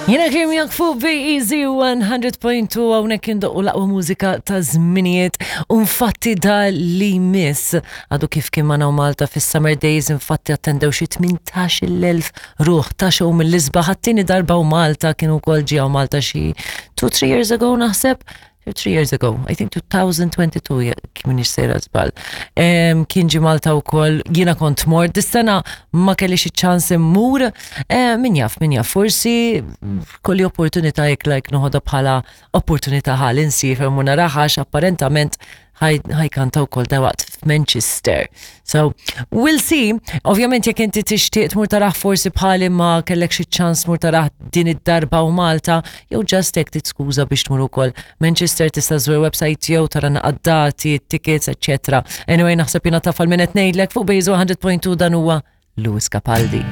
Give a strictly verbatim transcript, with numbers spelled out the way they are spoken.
Jiena Kim miegħek fuq B E Z one hundred point two, hawnhekk indoqqu l-aqwa mużika ta' żminijiet. U infatti da li miss għadu kif kien magħna Malta fis-Summer Days, infatti attendew xi tmintax-il elf ruħ ta' show mill-isbaħ, għat-tieni darba u Malta kienu kol ġew Malta xi two three years ago naħseb. Three years ago, I think twenty twenty-two, jekk m'iniex sejra żball. Kien ġi Malta wkoll, jiena kont mort, dis-sena ma kellix ċans immur, eh, min jaf, min jaf, forsi kelli opportunità jekk like noħodha bħala opportunità ħalli nsiefer u naraha, apparentament ħa jkanta wkoll dalwaqt f'Manchester. So, we'll see. Ovvjament jekk inti tixtieq tmur tarah, forsi bħali ma kellek xi ċans tmur tarah din id-darba u Malta, jew just hekk titskuża biex tmur ukoll Manchester, tista' żżur website jew tara dati, tickets, eccetera. Anyway, naħseb jiena taf lil min qed ngħidlek. Fuq B E Z one hundred point two dan huwa Lewis Capaldi.